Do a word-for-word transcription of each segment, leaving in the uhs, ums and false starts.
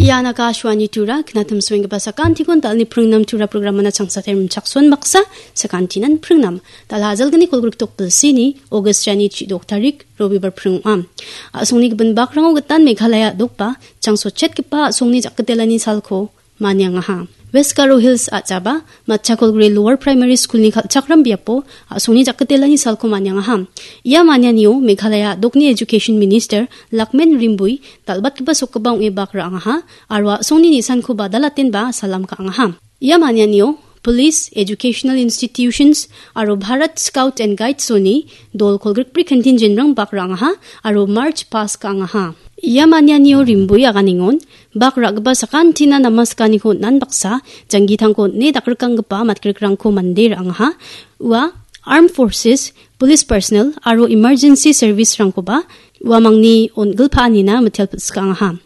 Ian Akashvani Tura, knatim suenggipa sakantikon dalni pringnam Tura programana changsatai rimchakson baksa, sakantinan pringnam. Dal hajalgni kolgrik tok bilsini, August jani chidok tarik, Robibar pringo am. Asongni gibin bakrango gitan Meghalaya dokba, changsochetgipa asongni jakgitelani salko, maniangaha. West Garo Hills a·jaba, Matchakolgre Lower Primary School-ni kal·chakram biapo a·songni jakgitelani salko maniangaha. Ia manianio Meghalaya a·dokni Education Minister Lakmen Rimbui dal·batgipa sokgipa ong·e bak ra·angaha, aro a·songni nisanko badalatenba salam ka·angaha. Ia manianio Police, Educational Institutions, aro Bharat Scout and Guides-oni dol kolgrikbri kantin jenrang bak ra·angaha, aro March Past ka·angaha. Ia manianio Rimbui aganengon, bak ra·gipa sakantina namaskaniko on·an baksa, janggitangko on·e dakrikanggipa matgrikrangko mande ra·angaha. Ua Armed Forces, Police Personnel aro Emergency Service-rangkoba uamangni on·gilpaanina mitelpilsikaangaha.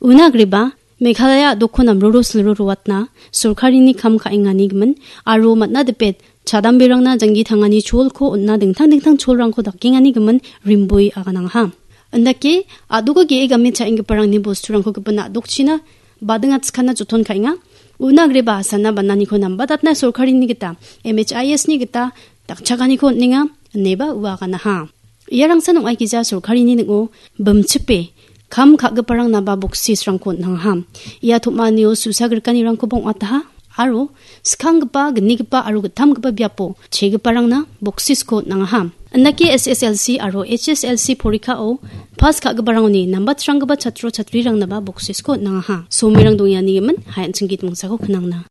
Una agreba, Meghalaya a·dokko namroro silroroatna sorkarini kam ka·engani gimin aro man·a dipet chadamberangna janggi tangani cholko on·a dingtang dingtang cholrangko dakengani gimin Rimbui aganangaha. Indake a·doko ge·e game cha·enggiparangni bosturangko gipin a·dokchina badingatskana joton ka·enga. Una agreba asana bananiko nambatatna sorkarini gita, M H I S-ni gita dakchakaniko on·enga, ineba ua aganaha. Iarangsan ong·aikija sorkarini ning·o bimchipe kam ka·giparangnaba boksisrangko on·angaha. Ia tom·anio susa grikanirangkoba ong·ataha, aro skanggipa, gnigipa aro gittamgipa biapo chegiparangna boksisko on·angaha. Indake S S L C aro H S L C porikao pas ka·giparangoni nambatranggipa chatro chatrirangnaba boksisko on·angaha. Somirang dongiani gimin, hai an·ching git mongsako knangna.